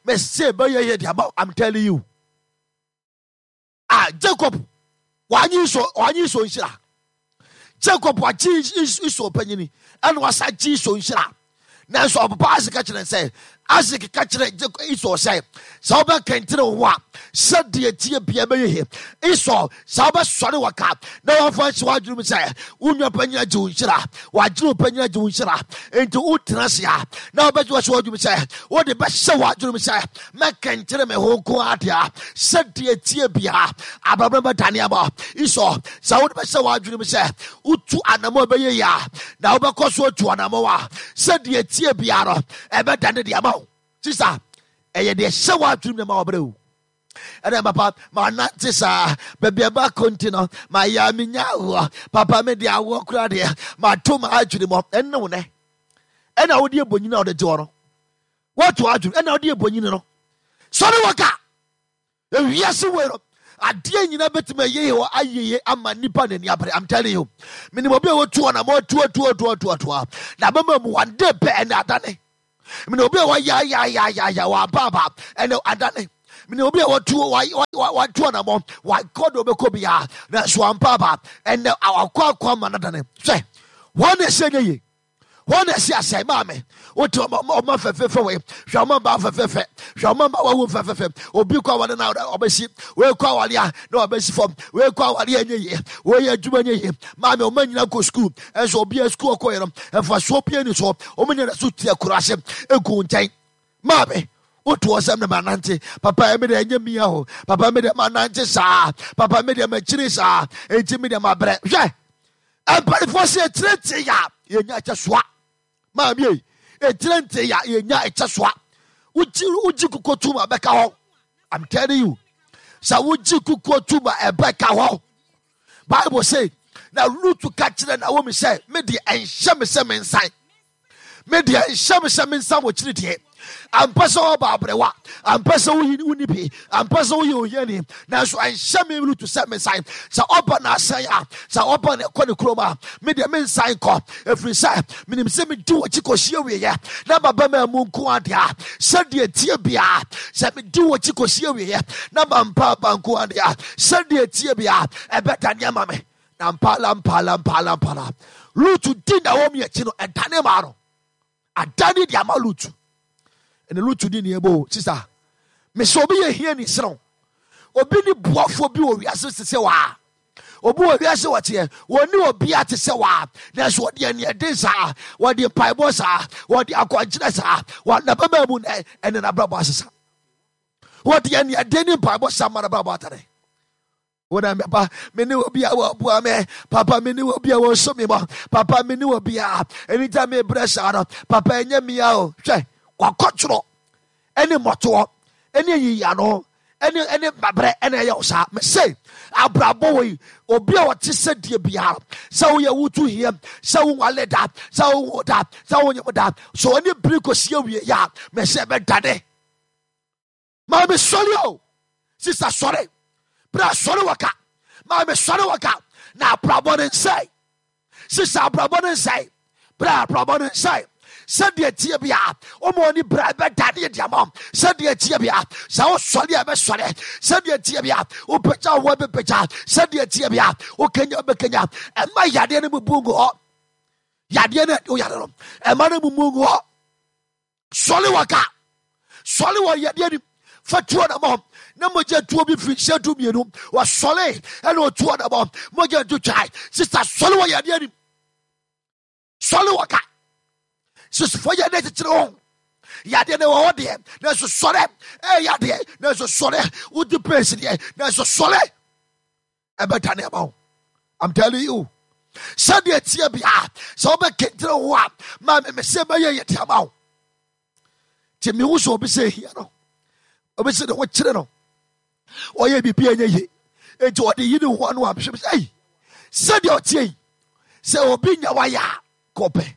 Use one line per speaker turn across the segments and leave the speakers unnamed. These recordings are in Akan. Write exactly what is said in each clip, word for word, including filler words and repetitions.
Mese bɛyɛ yɛ de ama. I'm telling you. Ah, Jacob wanye Esau, wanye Esau nhyira. Jacob wagye Esau panyini ɛna wasa gye Esau nhyira. Nanso ɔpapa Isaac ka kyerɛ sɛ, Isaac ka kyerɛ Esau sɛ, sɛ wobɛkɛntene wo ho a, sɛdeɛ tie bia bɛyɛ he. Esau, sɛ wobɛsɔre wɔ ka na wɔmfa nhyɛ w'adwene mu sɛ wo nua panyin agye wo nhyira, wagye wo panyin agye wo nhyira, enti wotena ase a na wobɛgye wahyɛ w'adwene mu sɛ wode bɛhyɛ w'adwene mu sɛ mɛkɛnkyere me ho nko ara deɛ, sɛdeɛ tie bia abrabɔ bɛdane ama. Esau, sɛ wode bɛhyɛ w'adwene mu sɛ wotu anammɔ bɛyɛ yie a, na wobɛkɔ so atu anammɔ a, sɛdeɛ tie bia no ɛbɛdane deɛ ama wo. Sisa, ɛyɛ deɛ hyɛ w'adwene mu na ma wɔbrɛ wo. Ɛnɛ papa manante saa baabi a ɛba nti no mayɛ a menya awoɔ. Papa, mede awoɔ koraa deɛ mato ma adwene mu. Ɛne wo nɛ ɛna wode ɛbɔnyini a wode gye hɔ no, woato adwene ɛna wode ɛbɔnyini no sɔre wɔ ka ewiase wei no, adeɛ nyinaa bɛtumi ayɛ wɔ ayɛye ama nipa n'ani abere. I'm telling you, menim obi a wɔtu hɔ na ma ɔtu atu atu atu atu a na bɛma mu one day pɛ ɛne adane. Menim obi a wɔyayayayaya wɔabaaba ɛne adane. Menim obi a wɔtu watu anamɔ, wakɔ de ɔbɛkɔ biara nanso wampaaba, ɛnɛ akɔ akɔ ama no adane. Hwɛ, wɔn na ɛsɛ nyɛ yie, wɔn na ɛsi asɛe. Maame, wote ɔma fɛfɛɛfɛ wei, hwɛ ɔma mmaa fɛfɛɛfɛ, hwɛ ɔma mmaa wawu fɛfɛɛfɛ. Obi kɔ awale na ɔbɛsi wei, kɔ awale a na ɔbɛsi fam, wei kɔ awale a ɛnyɛ yie, wei yɛ adwuma nyɛ yie. Maame, ɔma nyina kɔ sukuu, ɛnso obi a sukuu ɔkɔ yɛ no ɛfasoɔ pie ni so, ɔmo nyina so tia kuro ase egu nkyɛn. Maame, wotu ɔsɛm na manante. Papa, ɛmi deɛ ɛnyɛ mia o. Papa, mi deɛ manante saa. Papa, mi deɛ makyiri saa, enti mi deɛ mabrɛ. Hwɛ, mpanyinfoɔ sɛ etire nte ya yɛnya ɛkyɛ soa. Maame yi, etire nte ya yɛnya ɛkyɛ soa. Wogye wogye kukuo tum a bɛka hɔ. I'm telling you, sɛ wogye kukuo tum a ɛbɛka hɔ. Bible say na Ruth ka kyerɛ Naomi sɛ, me deɛ ɛnhyɛ me sɛ me nsan, me deɛ nhyɛ me sɛ me nsa wɔ kyiri deɛ. Ampɛ sɛ wɔba abrɛwa, ampɛ sɛ woyi wonni bi, ampɛ sɛ woyɛ ohiani, nanso ɛnhyɛ me Ruth sɛ me nsan. Sɛ ɔba na asɛn a, sɛ ɔba na ɛkɔ ne kurom a, me deɛ me nsan kɔ, ɛfiri sɛ menim sɛ medi wɔ akyi kɔsi awieɛ na maba ma mu nko adeɛ a, sɛdeɛ tie biara, sɛ medi wɔ akyi kɔsi awieɛ na mampa aba nko adeɛ a, sɛdeɛ tie biara ɛbɛdane ama me. Na mpala mpala mpala mpala, Ruth di Naomi akyi no, ɛdane maa no, adane de ama Ruth. Ɛna Ruth di ne ɛbɔ. Sisa, mesɛ obi yɛ hia ni serew, obi ne boafoɔ bi wɔ wiase te sɛ waa. Obi wɔ wiase wɔteɛ wɔne obia te sɛ waa, nanso wɔde aniɛden saa, wɔde mpaebɔ saa, wɔde akɔnkyerɛ saa, wɔnabɛma mu nɛ ɛne nabrabɔ asesa. Wɔde aniɛden ne mpaebɔ saa ma nabrabɔ atane. Wona papa, me ne obi a wɔboa me. Papa, me ne obi a wɔso me mɔ. Papa, me ne obi a ɛni gya me brɛ saa no. Papa, ɛnyɛ mia o. Hwɛ, wakɔtwerɛ ɛne mmɔtoɔ ɛne ayiyano ɛne ɛne mabrɛ ɛna ɛyɛ wo saa. Mese abrabɔ wɔ yi, obi a ɔte sɛ deɛ biara sɛ woyɛ wotu hia, sɛ wonwale da, sɛ wonwo da, sɛ wonyem da, sɛ ɔne biri kɔsi awie yɛ a, mese ɛbɛdane. Maame, sɔre o. Sisa, sɔre. Bra, sɔre wɔ ka. Maame, sɔre wɔ ka na abrabɔ ne nsɛe. Sisa, abrabɔ ne nsɛe. Bra, abrabɔ ne nsɛe. Sɛdeɛ tie bia woma ɔne bra, ɛbɛdane de ama. Sɛdeɛ tie bia sɛ wosɔre a, ɛbɛsɔre. Sɛdeɛ tie bia wopagya wo, bɛpagya. Sɛdeɛ tie bia wokanya, wobɛkanya. Ɛma yadeɛ no mubu ngu hɔ. Yadeɛ no woyare no, ɛma no mumu ngu hɔ. Sɔre wɔ ka, sɔre wɔ yadeɛ nim, fa tuo na mɔ na mogya tuo bi firi nhyɛ du mmienu. Wɔsɔre ɛna ɔtuo na mɔ mogya du twae. Sista, sɔre wɔ yadeɛ nim, sɔre wɔ ka. Sisifo, yadeɛ kyekyere ho, yadeɛ no wɔ hɔ deɛ, nanso sɔre. Ɛyɛ yadeɛ, nanso sɔre. Wodi pɛnsi deɛ, nanso sɔre, ɛbɛdane ama wo. I'm telling you, sɛdeɛ tie bia sɛ wobɛkɛntene ho a, ma me mesɛ bɛyɛ yɛ de ama wo. Nti mehu sɛ obi sɛ hia no, obi sɛ ne ho kyerɛ no, ɔyɛ biribi a ɛnyɛ ye, enti ɔde yi ne ho ano a, mehwɛ sɛ ei, sɛdeɛ ɔteɛ yi, sɛ obi nya wayɛ a kɔpɛ.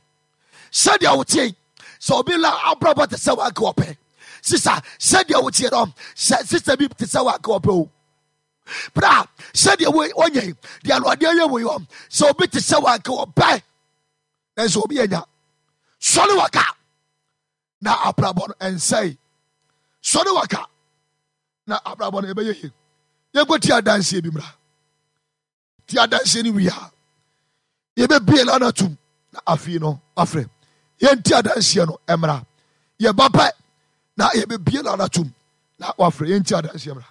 Sɛdeɛ woteɛ yi, sɛ obi la abrabɔ te sɛ wanka ɔpɛ. Sisa, sɛdeɛ woteɛ no, sɛ sista bi te sɛ wanka ɔpɛ o. Bra, sɛdeɛ wɔnyɛ yi deɛ Awurade ayɛ wɔ yi hɔ, sɛ obi te sɛ wanka ɔpɛ, nanso obi anya. Sɔre wɔ ka na abrabɔ no ɛnsɛe. Sɔre waka na abrabɔ no ɛbɛyɛ yie. Yɛnkɔ ti adanseɛ bi mmra. Ti adanseɛ no wie a, yɛbɛbie no anatom na afei no afrɛ. Yɛnti adanseɛ no mmra. Yɛba pɛ na yɛbɛbie no anatom na wafrɛ. Yɛnti adanseɛ mmra.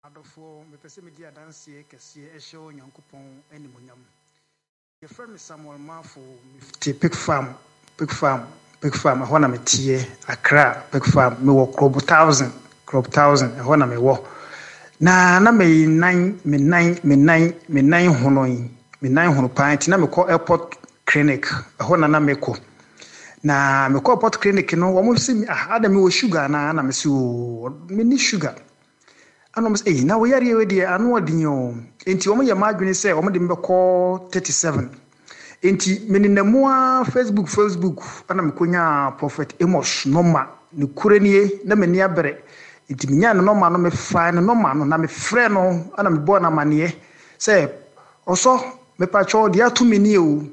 Adɔfoɔ, mepɛ sɛ medi adanseɛ kɛseɛ ɛhyɛ Onyankopɔn animuonyam. Yɛfrɛ me Samuel Mafo, mete Pig Farm, Pig Farm, Pig Farm, ɛhɔ na meteɛ, Accra, Pig Farm. Mewɔ Krobo Thousand, Krobo Thousand, ɛhɔ na mewɔ. Na na me nan, me nan, me nan, me nan hono yi, me nan hono paa nti na mekɔ airport clinic, ɛhɔ na na mekɔ. Na mekɔ airport clinic no, wɔn se me, ah, ada mewɔ sugar anaa? Na mese oo, menni sugar. Ɛna wɔn sɛ, ei, na wo yareɛ wei deɛ ano ɔden o. Nti wɔn yɛ m'adwene sɛ wɔn de me bɛkɔ thirty seven. Nti menenam mu ara Facebook, Facebook, ɛna mekɔnyaa Prophet Amos nɔma. Ne kure nie, na m'ani abere. Nti menyaa ne nɔma no, mefaa ne nɔma no, na mefrɛ no, ɛna mebɔɔ no amanneɛ sɛ, ɔsɔ, mepakyɛw deɛ ato me nie o.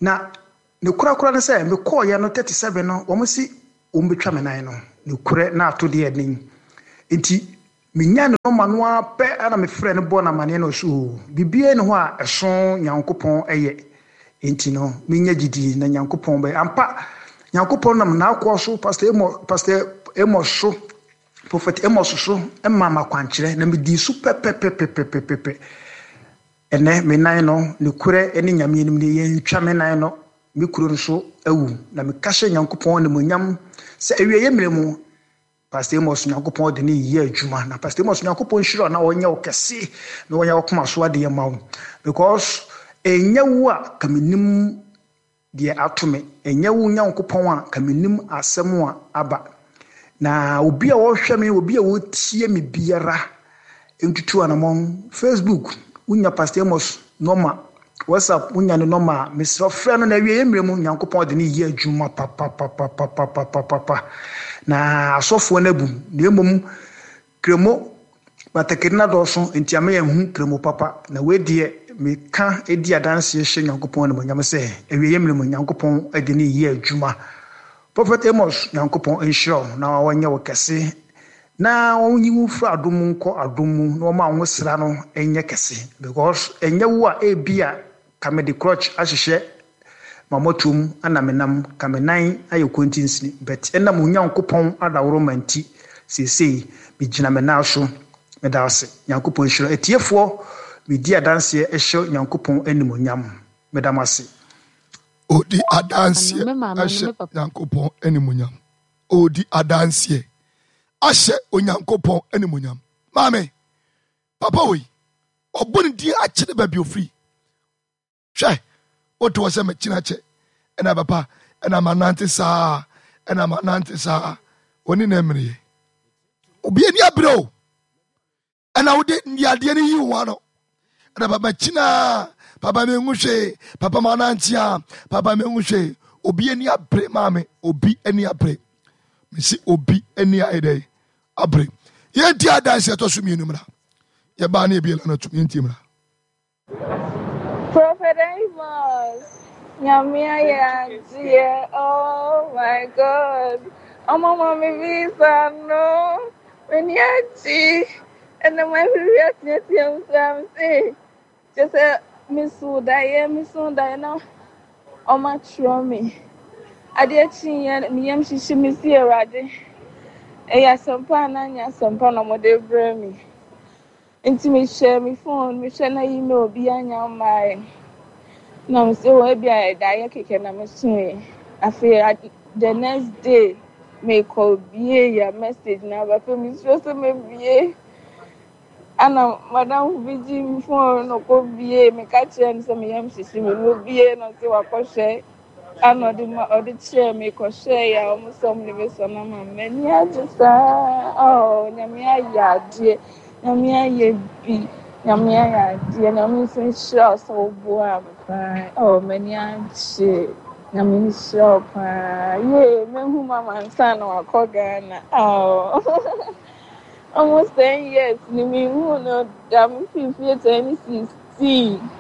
Na ne korakora ne sɛ, mekɔɔyɛ no thirty seven no, wɔn si wɔn bɛtwa me nan no. Ne korɛ na ato deɛ ɛden. Nti menya ne nɔma no ara pɛ, ɛna mefrɛ no bɔɔ no amanneɛ na ɔso o, biribiara nni hɔ a ɛso Nyankopɔn ɛyɛ. Nti no, menya gyidie na Nyankopɔn bɛyɛ. Ampa, Nyankopɔn nam n'akoa so, Pastor Amos, Pastor Amos so, Prophet Amos so, ɛma me akwankyerɛ na medii so pɛpɛpɛpɛpɛpɛ. Ɛnɛ, me nan no, ne korɛ ne Nyame anim ne yɛntwa me nan no, me kuro no so awu. Na meka hyɛ Nyankopɔn animuonyam sɛ awieeɛ mmerɛ mu, Pastor Amos Nyankopɔn de ne yɛ adwuma. Na Pastor Amos Nyankopɔn nhyira na ɔnyɛ wo kɛse na ɔnyɛ wo koma so adeɛ ma wo. Because ɛnyɛ wo a ka menim deɛ ato me, ɛnyɛ wo Nyankopɔn a ka menim asɛm a aba. Na obi a ɔhwɛ me, obi a ɔtie me biara ntutu anammɔn. Facebook, wonya Pastor Amos nɔma, WhatsApp, wonya ne nɔma a, mesrɛ frɛ no na awieeɛ mmerɛ mu Nyankopɔn de ne yɛ adwuma papapapapapapapa. Na asɔfoɔ no abu, na mmom kremo batakari no adɔɔso nti ama yɛnhu kremo papa. Na wei deɛ meka di adanseɛ hyɛ Nyankopɔn animuonyam sɛ awieeɛ mmerɛ mu Nyankopɔn de ne yɛ adwuma. Prophet Amos, Nyankopɔn nhyira wo na ɔnyɛ wo kɛse na ɔnyi wo mfiri adom mu nkɔ adom mu na ɔma wo sra no nyɛ kɛse. Because ɛnyɛ wo a ebi a ka mede crutch ahyehyɛ mamɔtom ana menam ka me nan ayɛ kɔntinsini, but ɛnam Onyankopɔn adaworoma nti seesei megyina me nan so. Meda ase. Nyankopɔn nhyira. Atiefoɔ, medi adanseɛ ɛhyɛ Nyankopɔn animuonyam. Meda mo ase.
Odi adanseɛ ɛhyɛ Nyankopɔn animuonyam. Odi adanseɛ ahyɛ Onyankopɔn animuonyam. Maame, papa wei, ɔbɔ ne din akyerɛ baabi ofiri. Hwɛ, wote hɔ sɛ mekyena kyɛ, ɛna papa, ɛna manante saa, ɛna manante saa. Oni na mmereyɛ. Obi ani abere o. Ɛna wode adeɛ no yi wo ano. Ɛna papa kyina, papa menhu hwee, papa manante a, papa menhu hwee. Obi ani abere maame, obi ani abere. Mesi obi ani ayɛ dɛ abere. Yɛnti adanse ɛtɔ so mmienu mmra. Yɛbaa ne ebie lana tum, yɛnti mmra.
Prophet Amos, Nyame ayɛ adeɛ, oh my God. Ɔmo ma me visa no, m'ani agye. Ɛnna mahwehwɛ ateatea mu saa me se, kyerɛ sɛ meso daeɛ, meso daeɛ na ɔmo atwerɛ me. Adeɛ kyeeɛ, me yam hyehye me si Awurade. Ɛyɛ asɛmpa anaa nyɛ asɛmpa na ɔmo de brɛ me. Nti mehyɛ me phone, mehwɛ na email bi anya mmaeɛ. Na me sɛ, oh, ebi a daeɛ kɛkɛ na mesoeɛ. Afei, the next day, mekɔ bie ya message na aba. Afei mesuro sɛ mebie. Ana madam bi gye me phone no kɔ bie. Meka kyerɛ no sɛ me yam hyehye me. No bie na ɔsɛ wakɔhwɛ. Ana ɔde ma ɔde kyerɛ me kɔhwɛ ya ɔmo sɛ ɔmo de bɛsɔ no ama me. M'ani agye saa. Oh, Nyame ayɛ adeɛ. Nyame ayɛ bi. Nyame ayɛ adeɛ. Nyame nso nhyira wo sɛ woboa me paa. Oh, m'ani agye. Nyame nhyira wo paa. Yee, mehu mama ansa na wakɔ Ghana. Oh. Almost ten years ni mehu no da me fii fie twenty sixteen.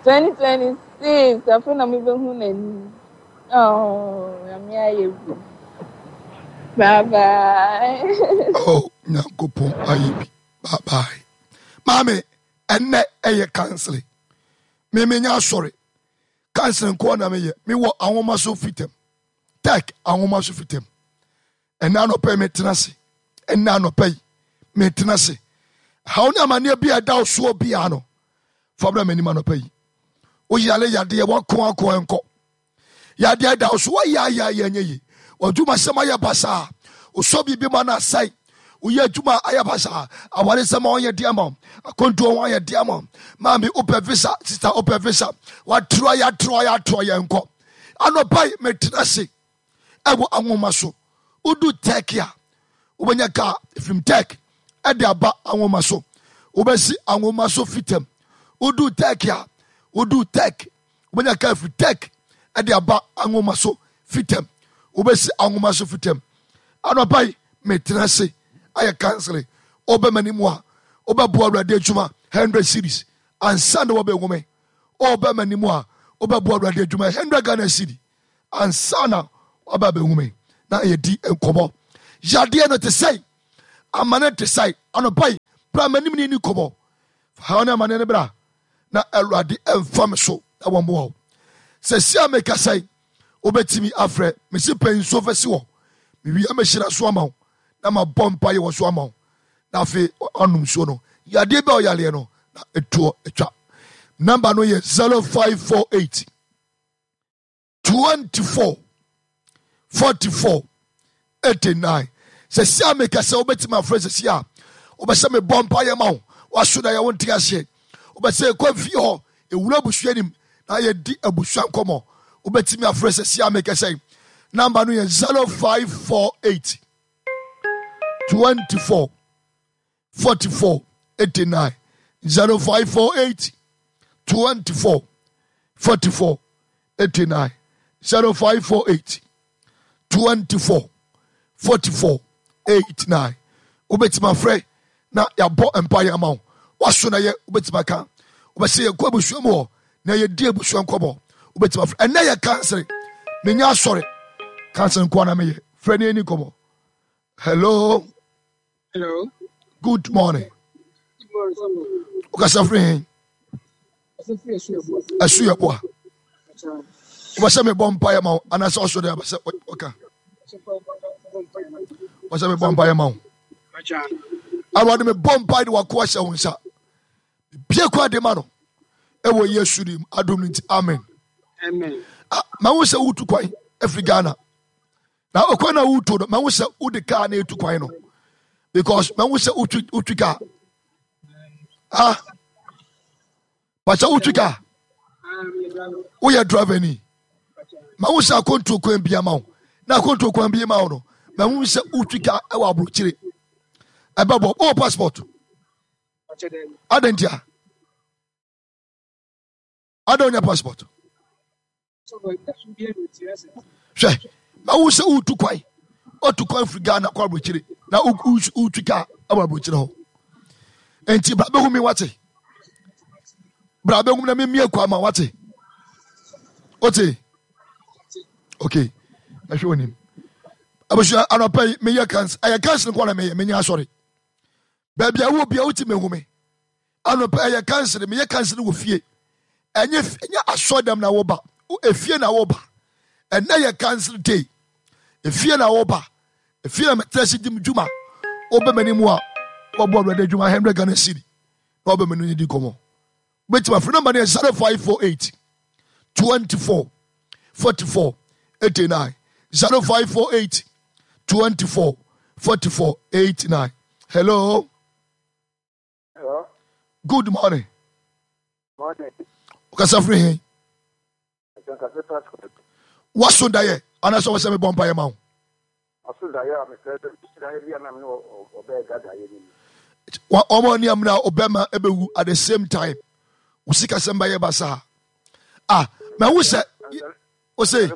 Twenty twenty six afei na mebɛhu n'anim. Oh, Nyame ayɛ bi. Bye bye.
Oh, Nyankopɔn ayɛ bi. Bye bye. Maame, ɛnnɛ ɛyɛ counseling. Me menya asɔre. Counseling nkoa na meyɛ. Mewɔ ahoma so fitam. Tech ahoma so fitam. Ɛnnɛ anɔpa yi metena ase. Ɛnnɛ anɔpa yi metena ase. Haw ne amanneɛ bi a ɛda wo soɔ biara no, fa bra m'anim anɔpa yi. Woyare yadeɛ, woako ako ɛnkɔ. Yadeɛ da wo so, woayɛ ayɛ ayɛ ɛnyɛ yie. W'adwumasɛm ayɛ basaa. Wosɔ biribi ma no asɛe. Woyɛ adwuma ayɛ basaa. Awaresɛm a ɔnyɛ de ama wo. Akwantuo ho ayɛ de ama wo. Maame wopɛ visa, sista wopɛ visa. Watrɔ yɛ atrɔ yɛ atrɔ yɛ nkɔ. Anɔpa yi metena ase ɛwɔ anwoma so. Wodu Turkey a, wobɛnya kaa ɛfirim Turkey ɛde aba anwoma so. Wobɛsi anwoma so fitam. Wodu Turkey a, wodu Turkey wobɛnya kaa firi Turkey ɛde aba anwoma so fitam. Wobɛsi anwoma so fitam. Anɔpa yi metena ase ayɛ kansere. Wobɛma ne mu a wobɛboa Awurade adwuma hundred series ansa na wɔbɛhu me. Wobɛma ne mu a wobɛboa Awurade adwuma hundred Ghana cedi ansa na waba abɛhu me na yɛdi nkɔmmɔ. Yadeɛ no te sɛe, amane te sɛe. Anɔpa yi bra m'anim ne ni nkɔmmɔ. Fa haw ne amane no bra na Awurade mfa me so na wɔmmoa wo. Sɛ si a mekasa yi wobɛtumi afrɛ mesi pɛ nsuo fa si hɔ. Mewie a mɛhyira so ama wo na mabɔ mpaeɛ wɔ so ama wo na afei anom nsuo no. Yadeɛ bi a ɔyareɛ no na ɛtoɔ atwa. Namba no yɛ zero five four eight twenty-four forty-four eighty-nine. Sɛ si a meka sɛ wobɛtumi afrɛ sɛ si a wobɛsɛ mebɔ mpaeɛ ma wo waso da yɛ wo nte aseɛ wobɛsɛ yɛkɔ fie hɔ ɛwura abusua nim na yɛdi abusua nkɔmmɔ wobɛtumi afrɛ sɛ si a meka sɛ namba no yɛ zero five four eight twenty-four forty-four eighty-nine zero five four eight twenty-four forty-four eighty-nine zero five four eight twenty-four forty-four eighty-nine. Wobɛtumi afrɛ na yɛabɔ mpaeɛ ama wo waso na yɛ wobɛtumi aka wobɛsɛ yɛkɔ abusua mu hɔ na yɛdi abusua nkɔmmɔ wobɛtumi afrɛ. Ɛnnɛ yɛ kansere menya asɔre kansere nkoa na meyɛ frɛ ne ani nkɔmmɔ. Hello.
Hello.
Good morning.
Good morning, sir.
Wokasa firi he? Ɛso yɛ boa. Wobɛsɛ mebɔ mpaeɛ ma wo anaasɛ ɔso de abɛsɛ ɔka? Wobɛsɛ mebɔ mpaeɛ ma wo? Awurade mebɔ mpaeɛ de wakoa hyɛ wo nsa. Bie kɔ ade ma no ɛwɔ Yesu dim adom no nti amen.
Amen.
Ah, mahu sɛ wotu kwan afiri Ghana. Na ɔkwan na wotu no mahu sɛ wode kaa na etu kwan no because mahu sɛ wotwi wotwi kaa. Ah, pakyɛ wotwi kaa? Woyɛ driver ni. Mahu sɛ akwantuo kwan bi ama wo na akwantuo kwan bi ma wo no mahu sɛ wotwi kaa ɛwɔ aburokyire ɛbɛbɔ wowɔ passport adɛn ntia adɛn wonya passport hwɛ mahu sɛ wotu kwan wotu kwan firi Ghana kɔ aburokyire na wotwi kaa ɛwɔ aburokyire hɔ nti bra bɛhu mi wate bra bɛhu mi na memie kwan ma wate wote okay mɛhwɛ w'anim abusua anɔpa yi meyɛ kans ɛyɛ kans nko na meyɛ menya asɔre baabi a wɔ bia wote mehu me anɔpa ɛyɛ kansere meyɛ kansere wɔ fie ɛnyɛ ɛnyɛ asɔdam na woba efie na woba ɛnɛ yɛ kansere day efie na woba efie na mɛtena si di dwuma wobɛ m'anim a wɔbɔ awurade adwuma hundred Ghana cedi na wɔbɛ m'anim di nkɔmɔ wobɛtumi afiri nɔmba no yɛ zero five four eight twenty four forty four eighty nine zero five four eight twenty four forty four eighty nine. Hello.
Hello.
Good morning.
Morning.
Okasa firi he? Waso daeɛ anaasɛ wɔsɛ mebɔ mpaeɛ ma wo? Ɔmo ne amena ɔbɛma ɛbɛwu at the same time. Wo sikasɛm bɛyɛ basaa. Ah, mahu sɛ ose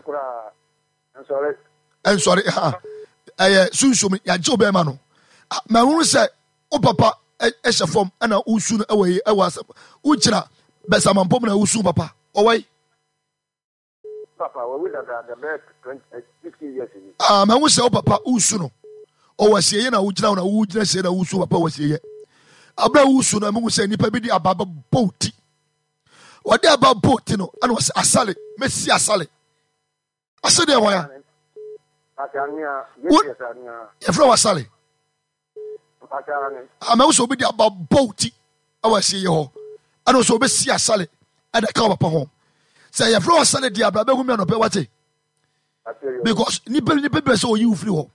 ɛnsɔre ha ɛyɛ sunsum yɛagye wo bɛrima no. Mahu sɛ wo papa ɛhyɛ fam ɛna wosu no ɛwɔ yi ɛwɔ asɛm wogyina bɛsamampɔ mu na wosu papa ɔwɔ yi.
Papa wawu dada bɛyɛ twenty Fifteen years ni.
Ah, mahu sɛ wo papa wosu no ɔwɔ asieyɛ na wogyina hɔ na wogyina sie na wosu papa wɔ asieyɛ. Abere a wosu no, mahu sɛ nnipa bi de aba bɛbɔ wo ti. Wɔde aba bɔ wo ti no, ɛna wɔsɛ asale, mɛsi asale. Ase deɛ wɔn a? Yɛfrɛ wɔ asale. Ah, mahu sɛ obi de aba bɔ wo ti ɛwɔ asieyɛ hɔ, ɛna wɔsɛ wɔbɛsi asale ɛde ka wo papa ho. Sɛ yɛfrɛ wɔ asale deɛ abira bɛhu mi anɔpɛ wate. Because nipa nipa bɛ sɛ oyi wo firi hɔ.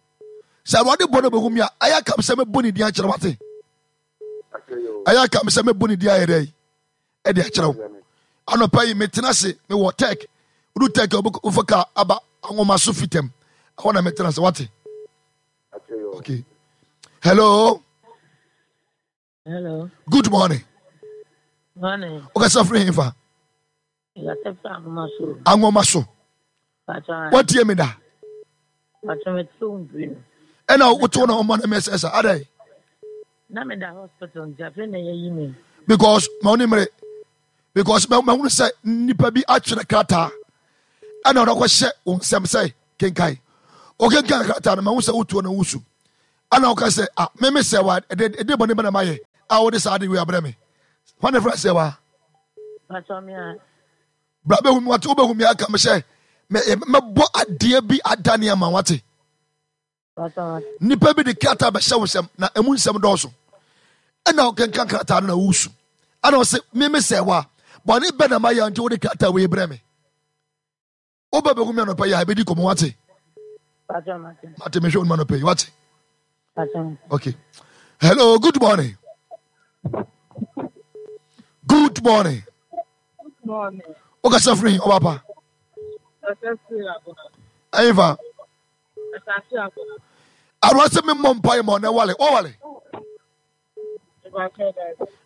Sɛ awurade bɔ no bɛhu mi a, ɛyɛ akam sɛ mɛbɔ ne din akyerɛ wate. Ɛyɛ akam sɛ mɛbɔ ne din ayɛ dɛ ɛde akyerɛ wo. Anɔpa yi metena ase mewɔ tech. Wodu tech a wofa kaa aba anwoma so fitam. Ɛhɔ na metena ase wate. Okay. Hello.
Hello.
Good morning.
Morning.
Wokasa firi hefa?
Wokasa firi Anwoma so.
Anwoma so. Watie me da? Ɛna woto na ɔma no mɛsɛ sa adɛn?
Na meda hospital nti afei na yɛyi me.
Because ma wo ne mmere because mahunu sɛ nnipa bi atwerɛ krataa ɛna ɔde akɔhyɛ wo nsɛm sɛ kenkan. Wokenkan krataa no mahu sɛ wotuo na wosu. Ɛna woka sɛ ah meme sɛ wa ɛde ɛde bɔne bɛ na mayɛ a wode saa ade wei abrɛ me. Hwan na ɛfrɛ sɛ wa? Bra bɛhu mi wate wobɛhu mi aka me sɛ mɛbɔ adeɛ bi adane ama wate. Nnipa bi de krataa bɛhyɛ wo nsɛm na emu nsɛm dɔɔso. Ɛna wokenkan krataa no na wosu. Ɛna ɔse meme sɛ wa bɔne bɛ na mayɛ nti wode krataa wei brɛ me. Wobɛ bɛhu mi anɔpa yi a ɛbɛdi kɔmmɔ wate. Mate mehwɛ wo no anɔpa yi wate. Okay. Hello, good morning. Good morning.
Good morning.
Wokasa firi he ɔba pa? Ɛyifa. Awurade sɛ memmɔ mpaeɛ ma ɔnɛ wale. Wɔwale.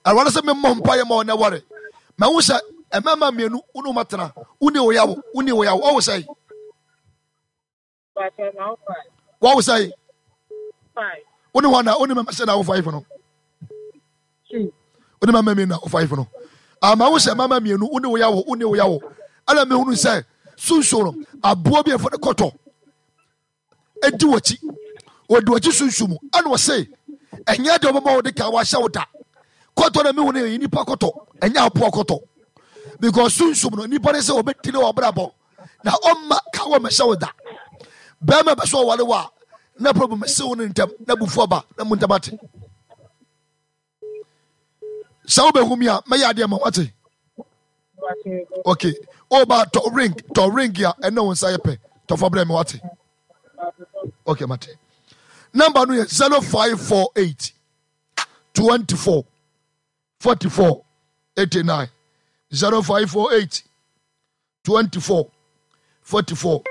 Awurade sɛ memmɔ mpaeɛ ma ɔnɛ wale. Mahu sɛ mmarima mmienu wo ne wɔn atena. Wo ne wo yawo, wo ne wo yawo. Ɔwo sɛe. Wɔwo sɛe. Wo ne wɔn na wo ne mmarima sɛ na wo five no. Wo ne mmarima mmienu na wo five no. Ama wo sɛ mmarima mmienu wo ne wo yawo, wo ne wo yawo. Ɛna mehunu sɛ sunsun no aboa bi a yɛfrɛ no kɔtɔ edi w'akyi. Ɔdi w'akyi sunsun mu. Ɛna ɔse ɛnyɛ deɛ ɔbɛma wo de ka wahyɛ wo da. Kɔtɔ na mehu no yɛ nipa kɔtɔ, ɛnyɛ aboa kɔtɔ. Because sunsun no nipa ne sɛ ɔbɛdi ne ɔbrabɔ na ɔmma ka wɔ mɛhyɛ wo da. Bɛrima bɛ so ɔware wo a na problem si wo ne ntɛm na bufu aba na mu ntɛm ate. Sɛ wobɛhu mi a mɛyɛ adeɛ ma wate. Okay. Oba tɔ ring tɔ ring a ɛne wo nsa yɛ pɛ tɔfa brɛ me wate. Okay mate. Number no yɛ zero five four eight twenty four forty four eighty nine zero five four eight twenty four forty four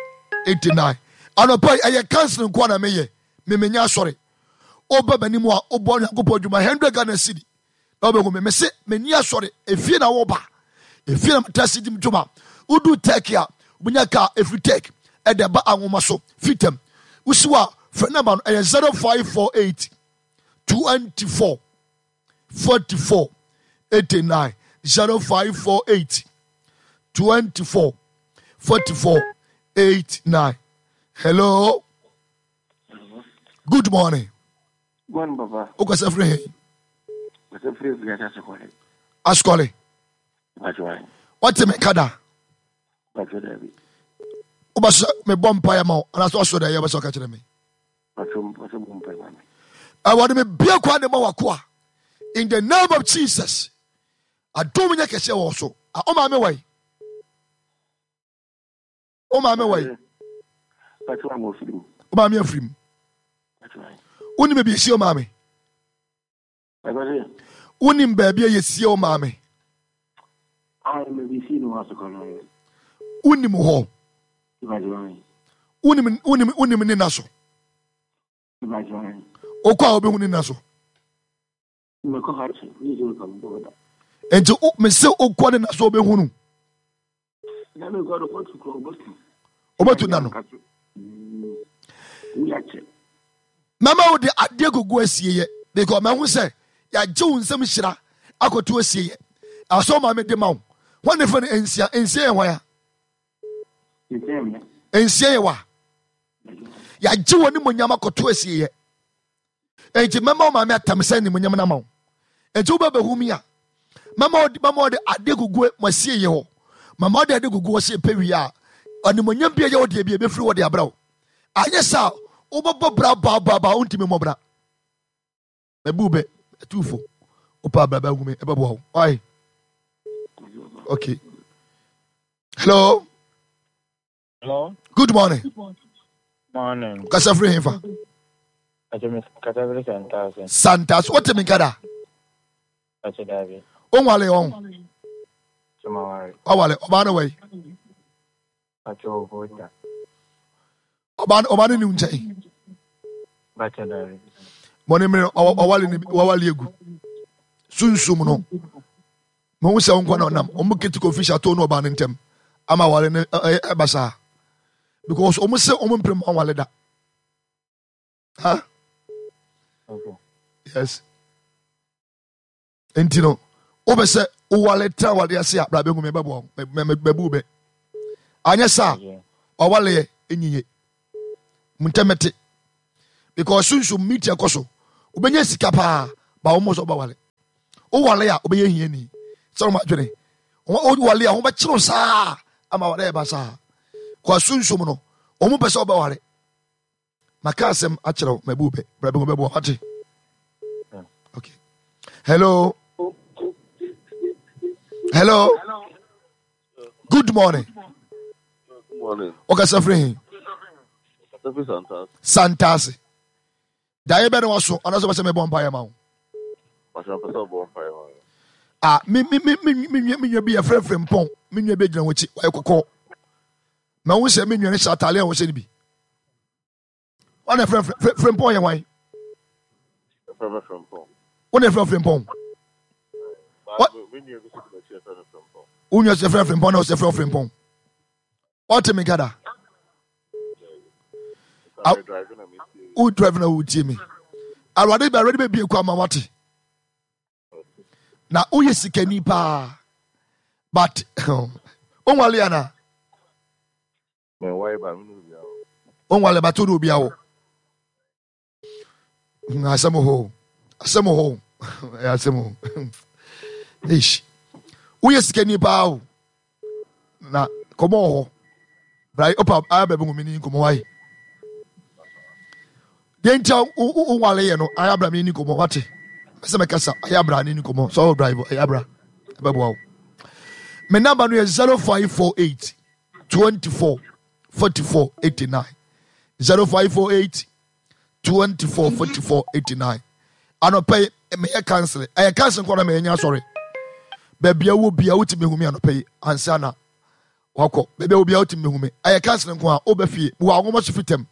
eighty nine. Anɔpa yi ɛyɛ counseling nko na meyɛ memenya asɔre. Woba m'anim a wobɔ Nyankopɔn adwuma hundred Ghana cedi na wobɛhu me. Mese menni asɔre efie na woba efie na meta si di dwuma. Wodu Turkey a wonya kaa efiri Turkey ɛde ba anwoma so fitam. Wosi hɔ a frɛ namba no ɛyɛ zero five four eight twenty four forty four eighty nine zero five four eight twenty four forty four eight nine. Hello. Good morning.
Morning, Papa.
Wokasa firi he?
Kasa firi firi Asukɔle.
Asukɔle. Wate me nka da?
Pàtó dàbí.
Wobɛsɛ mebɔ mpaeɛ ma wo anaasɛ ɔsoro dɛ ɛyɛ wobɛsɛ ɔka kyerɛ me?
Pàtó pàtó bɔ mpaeɛ ma me.
Awurade mebue kwan de ma wakoa in the name of Jesus. Adom nyɛ kɛseɛ wɔ so. Ah, wo maame wɔ yi? Wo maame wɔ yi?
Pàtó ama ofiri mu.
Wo maame afiri mu.
Pàtó ayi.
Wonim baabi yɛsie wo maame?
Pàtó
Wonim baabi a yɛsie wo maame?
Ayi mɛ bi si no Asukɔle.
Wonim hɔ?
Pàtó ayi.
Wonim wonim wonim ne na so?
Pàtó ayi.
Wokɔ a wobɛhu ne na so.
Mɛkɔ ha kyɛ, yi sɛ ɔka mbɔ da.
Nti wo mese wokɔ ne na so wobɛhu no.
Na mekɔ no kɔtu kɔ ɔbɛtu.
Wobɛtu na no.
Wuya kyɛ.
Mɛma wo de adeɛ gugu asieyɛ because mahu sɛ yɛagye wo nsɛm hyira akɔto asieyɛ. Asɛ wo maame de ma wo. Hwan ne fɛ no nsia? Nsia yɛ hwan a?
Nsia yɛ me.
Nsia yɛ wa? Yɛagye wɔ nimonyam akɔto asieɛ. Enti mɛma wo maame atam sɛ nimonyam no ama wo. Enti wobɛbɛhu mi a, mɛma ɔde mɛma ɔde ade gugu mo asieɛ hɔ. Mama ɔde ade gugu hɔ sɛ ɛpɛ wie a, animonyam bi a ɛyɛ wo deɛ bi a ɛbɛfiri hɔ de abrɛ wo. Anyɛ saa wobɛbɔ bra baabaabaa wontumi mmɔ bra. Mɛbu bɛ atuufo. Wopɛ abra bɛhu me ɛbɛboa wo. Why? Okay. Hello.
Hello.
Good morning.
Morning.
Kasa firi hefa?
Kasa firi Santase.
Santase. Wote me nka da?
Kasa dabi.
Wonwale ɔn?
Sumaware.
Wawale. Ɔbaa no wai?
Kasa obota.
Ɔbaa no ɔbaa no ni nkyɛn.
Kasa dabi.
Mɔne mmere wawale ne wawale egu. Sunsum no. Mo sɛ nkwa na ɔnam. Ɔmo kiti kofi hyɛ no ɔbaa no ntɛm. Ama wale no ɛba saa. Because ɔmo sɛ ɔmo mpere mo awale da. Huh?
Okay.
Yes. Nti no, wobɛ sɛ wowale tena wale ase a bra bɛhu me bɛboa wo mɛbu bɛ. Anyɛ saa wawaleɛ ɛnyiye. Ntɛmɛte. Because sunsum meeting ɛkɔ so. Wobɛnya sika paa ba wo mmɔ sɛ wobɛwale. Wowale a wobɛyɛ hiani. Sɛ wɔn adwene. Wowale a wɔbɛkyerɛw saa ama wale ɛba saa. Kɔ sunsum no, wɔn pɛ sɛ wobɛwale. Maka asɛm akyerɛ wo mɛbu bɛ. Bra bɛhu bɛboa wate. Okay. Hello. Hello. Good morning.
Good morning.
Ɔkasa firi he?
Kasa firi Santase.
Santase. Daeɛ bɛ ne waso anaasɛ wobɛsɛ mebɔ mpaeɛ ma wo?
Pastor, mpɛ sɛ ɔbɔ mpaeɛ ma me.
Ah, me me me me me nua me nua bi yɛfrɛ frɛ mpɔn. Me nua bi gyina wɔn akyi, ɔyɛ kɔkɔɔ. Ma wo sɛ me nua no hyɛ ataade a wɔhyɛ no bi. Wɔn na frɛ frɛ frɛ mpɔn yɛ hwan?
Yɛfrɛ me Frempɔn.
Wɔn na frɛ frɛ mpɔn.
Ba me nua bi nso gyina akyi yɛfrɛ no Frempɔn.
Wo nua sɛ frɛ frɛ mpɔn na ɔsɛ frɛ frɛ mpɔn. Ɔte me kada. Wo drive na wo tie me. Awurade bɛ awurade bɛ bie kɔ ama wate. Na woyɛ sikani paa. But wonwale ana? Wonwale but wode obi awo. Asɛm hɔ. Asɛm hɔ. Ɛyɛ asɛm hɔ. Eish. Woyɛ sikani paa o. Na kɔmɔ wɔ hɔ. Bra opa ayɛ baabi hu me ni nkɔmɔ wae. Deɛ nti a wonwale yɛ no ayɛ abra me ni nkɔmɔ wate. Sɛ mɛkasa ayɛ abra ne ni nkɔmɔ. Sɛ ɔwɔ drive ayɛ abra. Ɛbɛboa wo. Me number no yɛ zero five four eight twenty four forty four eighty nine zero five four eight twenty four forty four eighty nine. Anɔpɛ yi meyɛ council ɛyɛ council nkɔ na meyɛ nya asɔre. Baabi a wɔ bia wotumi hu me anɔpɛ yi ansa na wakɔ. Baabi a wɔ bia wotumi hu me ɛyɛ council nko a wobɛ fie wɔ ahoma so fitam.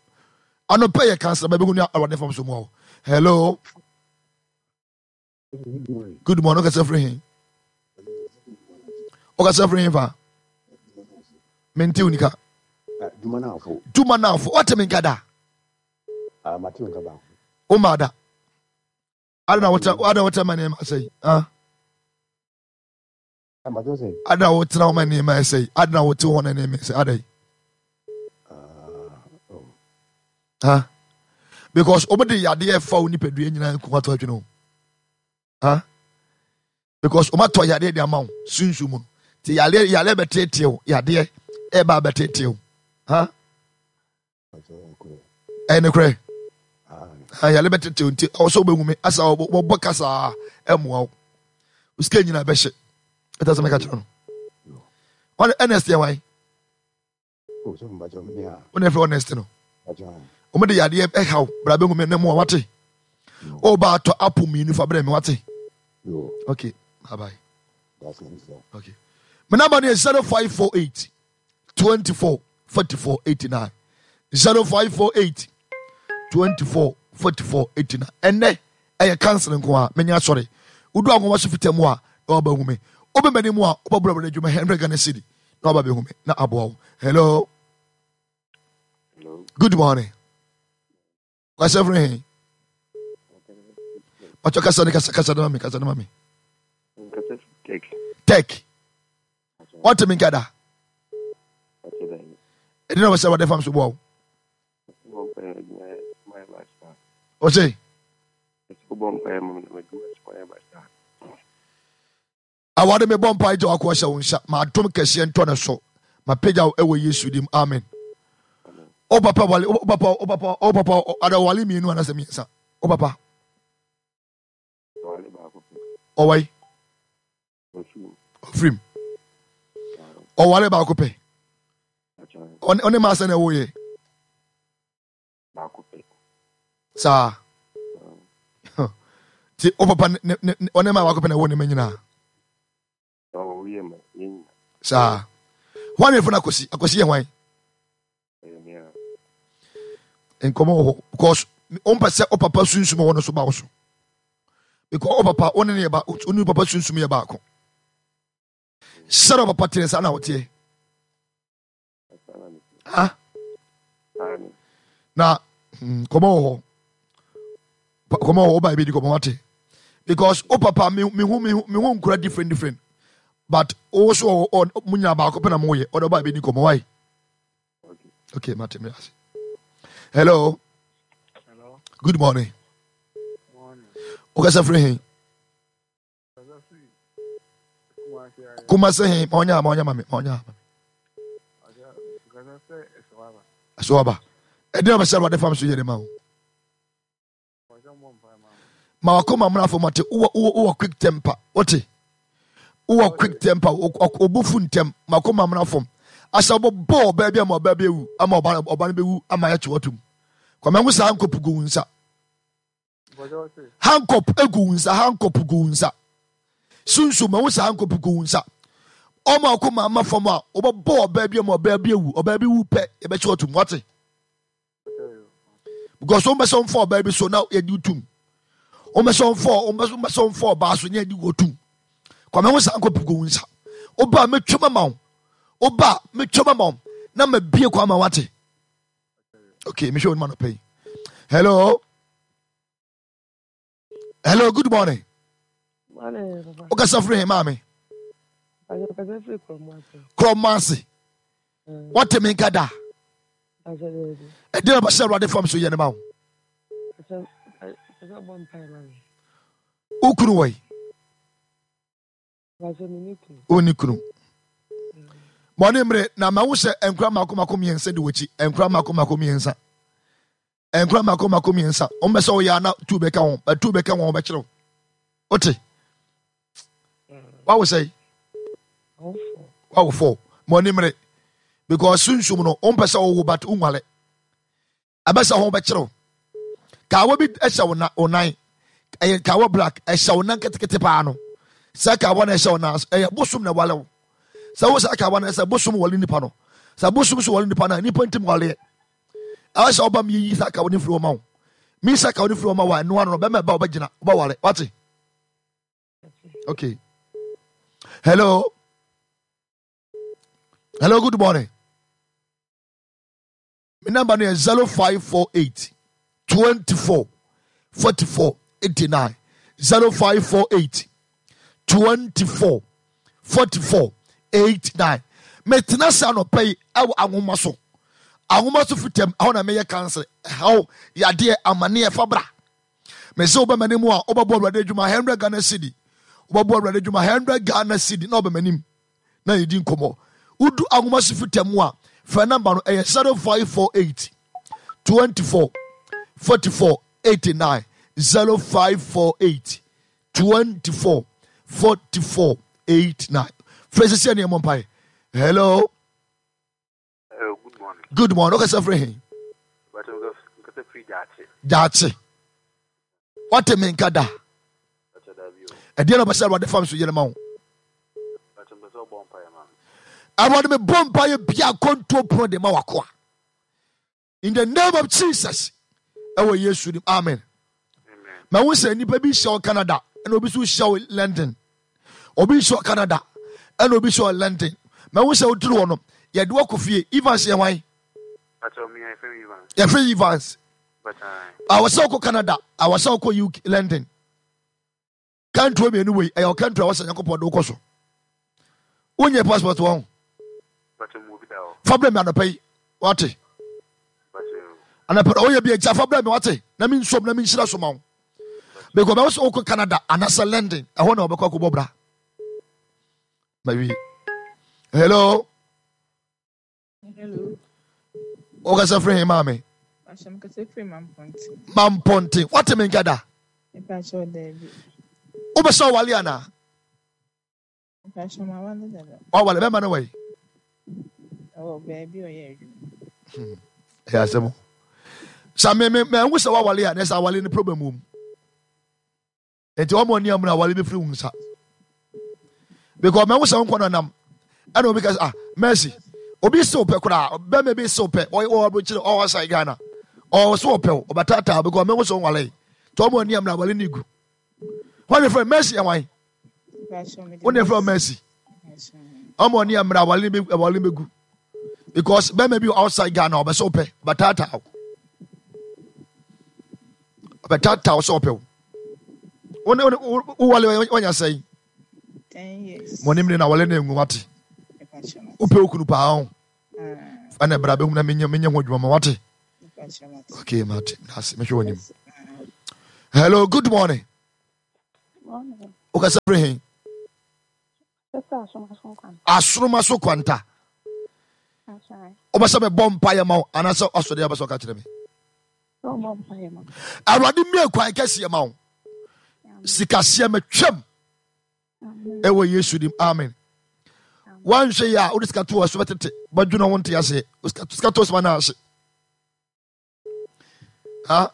Anɔpɛ yɛ council baabi hu ne awurade fam so mu hɔ. Hello. Good morning. Ɔkasa firi he? Ɔkasa firi he fa? Mente wo nika. Dwuma naafo. Wate me nka da? Wo ma da. Ada na wotena ada wotena ma nneɛma asɛe. Ah. Ada wotena ma nneɛma asɛe. Ada na wote hɔ na nneɛma asɛe. Ada yi. Ah. Because omo de yadeɛ fa wo nipadua nyinaa nko ato adwene o. Ah. Because omo atɔ yadeɛ de ama wo sunsun mu no. Ti yadeɛ yadeɛ bɛteetee wo yadeɛ ɛba bɛteetee wo. Ah. Ɛyɛ nokorɛ. Yale bɛtete nti ɔwɔ sɛ wobɛhu me asa wɔbɔ kasa ɛmmoa wo. Wo sika nyinaa bɛhye. Ɛta sɛ mɛka kyerɛ no. Ɔne Ernest yɛ wan? Wo na ɛfrɛ Ernest no. Wɔn de yadeɛ ɛhaw bra bɛhu me ne mmoa wate. Ɔba atɔ apple mmienu fa brɛ me wate. Okay, bye bye. Okay. My number is zero five four eight twenty four forty four eighty nine zero five four eight twenty four forty four eighty nine. Ɛnɛ ɛyɛ council nko a menya asɔre. Wodu ahoma so fita mu a na waba hu me. Wobɛmani mu a wobɛbɔ awurade adwuma hundred Ghana cedi na waba bɛhu me na aboa wo. Hello.
Hello.
Good morning. Kasa firi he? Pacho kasa ne kasa kasa ne ma me kasa ne ma me.
Kasa tech.
Tech. What me nkada? Ɛdi na wɔsɛ wɔde fam so boa wo. Ɔsɛ awade mebɔ mpa gya wako ahyɛ wo nsa ma adom kɛseɛ ntɔ ne so ma pagya wo ɛwɔ Yesu dim, amen. O papa wale, o papa, o papa, o papa ada wale mmienu anasɛ mmiɛnsa? O papa ɔwai ɔfirim ɔwale baako pɛ, ɔne maa sɛ na ɛwɔ yɛ saa nti o papa ɔne maa baako pɛ na ɛwɔ ne ma nyinaa saa. Hwan ne fo no Akwasi? Akwasi yɛ hwan? Nkɔmɔ wɔ hɔ because wompɛ sɛ wo papa sunsum wɔ no so ba wo so, because wo papa wo ne ne yɛ ba, wo ne papa sunsum yɛ baako. Sɛdeɛ papa teɛ saa na woteɛ ha na nkɔmɔ wɔ hɔ, nkɔmɔ wɔ hɔ. Woba ebi di nkɔmɔ wate, because wo papa mehu mehu mehu nkura different different, but wo so ɔ mo nyina baako pɛ na mo yɛ ɔdɔ. Ɔba ebi di nkɔmɔ wae. Okay, mate me ase. Hello.
Hello.
Good morning.
Morning.
Wokasa firi he? Kumase he? Ma ɔnyɛ ma ɔnyɛ ma me ma ɔnyɛ ma me. Ɛso aba. Ɛdeɛ ɔbɛsɛ Awurade fam so yɛ de ma wo. Ma wakoma mmra fam ate. Wowɔ wowɔ quick temper, wote? Wowɔ quick temper, obufu ntɛm. Ma wakoma mmra fam. Asɛ wobɛbɔ ɔbaa bi ama ɔbaa bi awu, ama ɔba ɔba no bɛwu ama yɛkye watom. Kwame ho saa handcuff gu wo nsa. Handcuff egu wo nsa, handcuff gu wo nsa. Sunsun ma ho saa handcuff gu wo nsa. Ɔma wakoma ama fam a wobɛbɔ ɔbaa bi ama ɔbaa bi awu, ɔbaa bi wu pɛ yɛbɛkye watom, wate? Because wɔn bɛ sɛ wɔn fa ɔbaa bi so na yɛde tum, wɔn bɛ sɛ wɔn fa wɔn bɛ sɛ wɔn fa ɔbaa so na yɛde wɔ tum. Kwame ho saa nkɔpu gu nsa. Ɔbaa mɛtwa ma wo, ɔbaa mɛtwa ma wo na ma bie kwan ma wate. Okay, mehwɛ wɔn ma no pɛ yi. Hello, hello, good morning. Wokasa firi he, maame? Kurɔmo ase. Wɔte me nka da. Ɛdeɛ na bɛsɛ Awurade fam so yɛ ne ma wo. Wo kunu wɔ yi? Wonni kunu. Mɔne mmere na ma wo sɛ nkura mako mako mmiɛnsa di w'akyi, nkura mako mako mmiɛnsa, nkura mako mako mmiɛnsa. Wɔn bɛ sɛ ɔyɛ ana tu bɛka wɔn, bɛtu bɛka wɔn bɛkyerɛw. Wote wawo sɛ wawo fɔ mɔne mmere because sunsum no wɔn pɛ sɛ ɔwo but nwale ɛbɛsɛ ho bɛkyerɛw. Kaawa bi hyɛ wo na wo nan, ɛyɛ kaawa black ɛhyɛ wo nan ketekete paa no. Sɛ kaawa na ɛhyɛ wo nan, ɛyɛ bosom na ɛwale wo. Sɛ wo saa kaawa no, sɛ bosom wale nipa no, sɛ bosom so wale nipa no a, nipa ntim waleɛ. Ɛwɔ sɛ ɔba mi yi saa kaawa no firi wɔn ma wo. Mi saa kaawa no firi wɔn ma wo a, ɛno ano no bɛma ɛba ɔbɛgyina ɔbɛwale wate. Okay, hello, hello, good morning. My number no yɛ zero five four eight twenty four forty four eighty nine, zero five four eight twenty four forty four eight nine. Metena se anɔpa yi ɛwɔ ahoma so, ahoma so fitam ɛhɔ na meyɛ kansa ɛhaw yadeɛ amaneɛ fa bra. Mese wobɛma ne mu a wobɛbɔ Awurade adwuma hundred Ghana cedi, wobɛbɔ Awurade adwuma hundred Ghana cedi na wobɛma nim na yɛdi nkɔmmɔ. Wodu ahoma so fitam mu a, frɛ namba no, ɛyɛ zero five four eight twenty four forty four eighty nine, zero five four eight twenty four forty four eight nine. Frɛ sisi ɛne ɛmɔ mpae. Hello.
Hello, good morning.
Good morning. Wokasa firi he? Gyaakye. Wate me nka da. Ɛdeɛ na ɔbɛsɛ Awurade fam so yɛ no ma wo. Awurade mebɔ mpaeɛ bia akɔntuo pono de ma wakoa. In the name of Jesus. Ɛwɔ Yesu nim. Amen. Ma wo sɛ nnipa bi hyɛ wɔ Canada ɛna obi nso hyɛ wɔ London. Obi hyɛ wɔ Canada ɛna obi hyɛ wɔ London. Ma wo sɛ woduru hɔ no yɛde wakɔ fie. Evans yɛ hwan? Yɛfrɛ Evans. Awɔ sɛ wokɔ Canada, awɔ sɛ wokɔ U K London. Kantuo mmienu wei ɛyɛ ɔkantuo a wɔsɛ Nyankopɔn de wokɔ so. Wonyɛ passport wɔn. Fa brɛ me anɔpa yi. Wate? Anapɛ ɔyɛ bi agya fa brɛ me wate na me nsom na me nhyira so ma wo. Because bɛwɔ sɛ wokɔ Canada anaasɛ London ɛhɔ na wɔbɛkɔ akɔbɔ bra. Mawie. Hello.
Hello.
Wokasa firi he maame? Mampɔnten. Wate me nka da? Wobɛ sɛ ɔwale anaa? Wawale bɛma no wai? Ɛyɛ asɛm. Sɛ me me mahu sɛ wawale a na sɛ awale no problem wɔ mu. Nti wɔn ani amuna awale bɛfiri wo nsa. Because mahu sɛ wo nkɔ nanam ɛna obi ka sɛ ah Mercy obi se wopɛ koraa bɛma bi se wopɛ ɔwɔ aburokyire ɔwɔ asan Ghana ɔwɔ so wɔpɛ wo ɔbɛtaataa because mahu sɛ wonwale nti wɔn ani amuna awale ne gu. Wɔn ne frɛ Mercy ɛwan? Wɔn ne frɛ Mercy. Wɔn ani amuna awale ne awale ne bɛgu because bɛma bi outside Ghana ɔbɛ sɛ wopɛ ɔbɛtaataa wo ɔbɛtaataa wo sɛ ɔpɛ wo. Wɔn ne wowale wɔnya sɛn? Mo ne mene na wɔle ne ngu wate. Wopɛ wo kunu paa ho. Ɛna bra bɛhu na menyɛ menyɛ ho adwuma ma wate. Okay, mate. Nase mehwɛ w'anim. Hello, good morning. Wokasa firi he? Asoroma so kwanta. Wobɛsɛ mebɔ mpaeɛ ma wo anaasɛ asɔre a wobɛsɛ ɔka kyerɛ me? Awurade mmue kwan kɛseɛ ma wo. Sikaseɛ matwam ɛwɔ Yesu dim. Amen. Woanhwɛ yi a wode sika to wɔ so bɛtete bɛdwene ho nte aseɛ. Sika to so ma no ahye. Ha?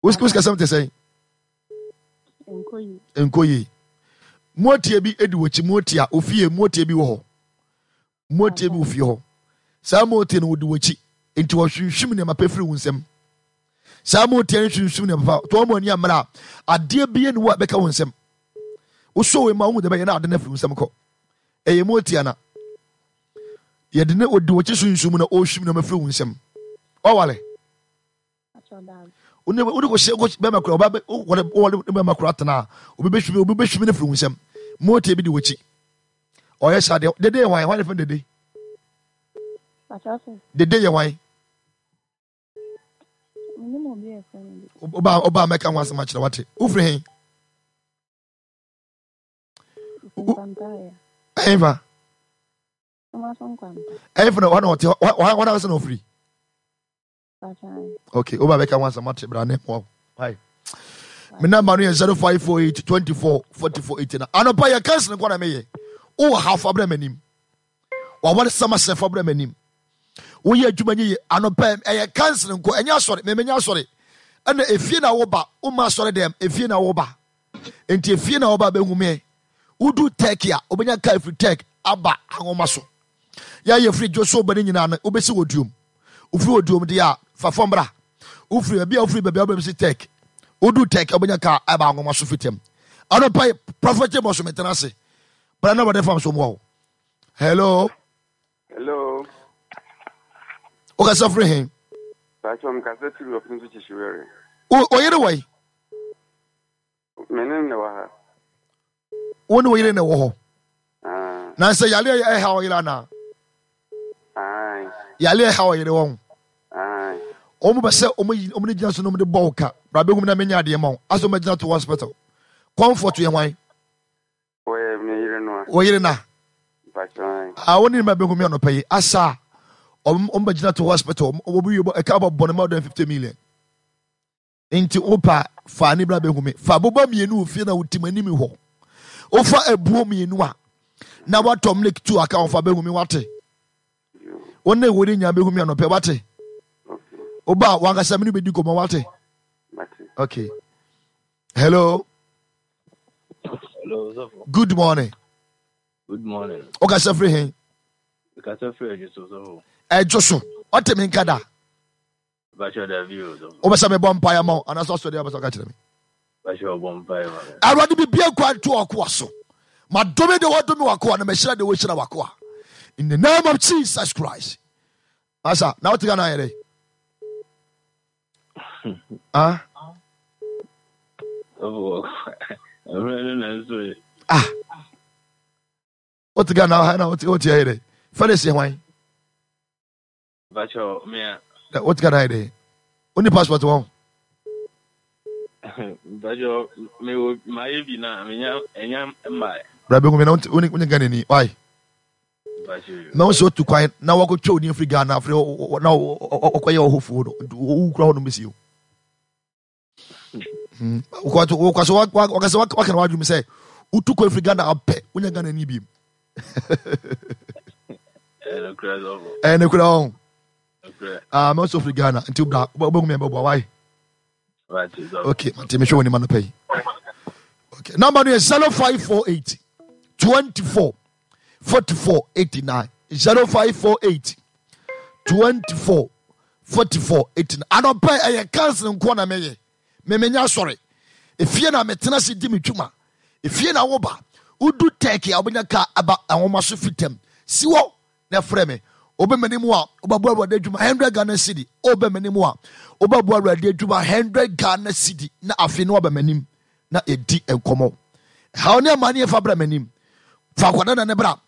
Wo sikasɛm te sɛn? Nkɔ yie. Moatia bi di w'akyi moatia ofie moatia bi wɔ hɔ. Moatia bi wɔ fie hɔ. Saa moatia no wɔdi w'akyi nti wɔhwinhwim nneɛma pɛ firi wo nsam. Saa moatia no hwinhwim nneɛma pa to wɔn ani ammerɛ a adeɛ bi ne wo a bɛka wo nsam. Wosɔ wei ma wohu deɛ bɛyɛ na ade no afiri wo nsam kɔ. Ɛyɛ moatia na yɛde ne ɔdi w'akyi sunsum na ɔrehwim nneɛma firi wo nsam. Ɔwale. Wode wode kɔhyɛ kɔ bɛrima kora ɔba wɔde wɔde ne bɛrima kora tena a obi bɛhwim obi bɛhwim no firi wo nsam. Moatia bi di w'akyi. Ɔyɛ saa deɛ dede yɛ hwan hwan ne fɛn dede? Dede yɛ hwan? Ɔba ɔba mɛka ho asɛm akyerɛ wate. Wofiri he? Ɛhefa? Ɛhefa na ɔna ɔte hɔ hɔ na ɔsɛ na ɔfiri? Okay, woba bɛka ho asɛm ate bra ne mmoa wo. Me number no yɛ zero five four eight twenty four forty four eighty nine. Anɔpa yɛ kansi nkɔ na meyɛ. Wowɔ ha fa brɛ m'anim. Waware sɛm asɛ fa brɛ m'anim. Woyɛ adwuma nye yɛ anɔpa ɛyɛ kansi nkɔ ɛnyɛ asɔre mɛmɛnyɛ asɔre. Ɛna efie na woba woma asɔre dɛm efie na woba. Nti efie na woba bɛhu me. Wodu Turkey a wobɛnya kaa firi Turkey aba anwoma so. Yɛayɛ firi dwo so ba ne nyinaa no wobɛsi wɔ duom. Wofiri wɔ duom deɛ a fa fam bra. Wofiri baabi a wofiri baabi a wobɛsi Turkey. Wodu Turkey a wobɛnya kaa aba anwoma so firi tɛm. Anɔpa yi Prophet Amos metena ase. Bra na wɔde fam so mmoa wo. Hello.
Hello.
Wokasa firi he?
Pacho mkasa firi ɔpem so kyehyiwere.
Wo yere wɔ yi?
Me ne ne wɔ ha.
Wo ne wo yere na ɛwɔ hɔ. Na sɛ yare a ɛha ɔyere anaa? Yare a ɛha ɔyere wɔn. Wɔn bɛ sɛ wɔn yi wɔn gyina so na wɔn de bɔ wo ka. Bra bɛhu na menya adeɛ ma wo. Asɛ wɔn bɛgyina to hospital. Comfort yɛ hwan?
Wɔyɛ me yere no a.
Wo yere na? Ah, wo ne ma bɛhu mi anɔpa yi. Asa wɔn wɔn bɛgyina to hospital. Wɔn bi yɛ ɛka bɔ bɔ ne ma ɔdɛn fifty million. Nti wopa fa ne bra bɛhu me. Fa boba mmienu wɔ fie na wotim anim hɔ. Wofa abuo mmienu a na watɔ milk two aka ho fa bɛhu me wate. Wo ne wo ne nya bɛhu me anɔpɛ wate. Woba wankasa me ne bɛdi nkɔmmɔ wate. Okay. Hello.
Hello, Zofo.
Good morning.
Good morning.
Wokasa firi he?
Kasa firi Adwo so, Zofo.
Ɛdwo so. Ɔte me nka da. Wobɛsɛ mebɔ mpaeɛ ma wo anaasɛ ɔsɔre a wobɛsɛ ɔka kyerɛ me. Awurade bibia nkwa nto ɔkoa so. Madome de wɔdome wakoa na mahyira de wɔhyira wakoa. In the name of Jesus Christ. Asa, na wote Ghana ayɛ dɛ? Ah? Ah. Wote Ghana ha na wote wote ayɛ dɛ? Felix yɛ hwan? Wote Ghana ayɛ dɛ? Woni passport wɔn?
Mpakyɛ mewɔ mayɛ bi na menya ɛnya mmae.
Bra bɛhu me na wone wone Ghana ni. Why?
Mpakyɛ.
Na wo sɛ otu kwan na wakɔtwa wo din afiri Ghana afiri na wɔkɔyɛ ɔhofoɔ no nti wowu kura hɔ no bɛsi o. Wokɔ so wakasɛ wakana wadwom sɛ wotu kwan firi Ghana apɛ wonya Ghana ni biem. Ɛyɛ nokorɛ ɔn. Ah, mɛ nso firi Ghana nti bra wobɛhu me bɛboa why? Okay, nti mehwɛ wɔ nim anɔpa yi. Okay, number no yɛ zero five four eight twenty four forty four eighty nine zero five four eight twenty four forty four eighty nine. Anɔpa yi ɛyɛ council nkoa na mɛyɛ. Memenya asɔre. Efie na metena se di me dwuma. Efie na woba. Wodu tɛki a wobɛnya kaa aba nwoma so fitam. Si hɔ na frɛ me. Wobɛ m'anim a wobɛboa Awurade adwuma hundred Ghana cedi. Wobɛ m'anim a wobɛboa Awurade adwuma hundred Ghana cedi na afei na waba m'anim na yɛdi nkɔmmɔ. Ɛhaw ne amanneɛ fa bra m'anim. Fa akwadaa na ne bra.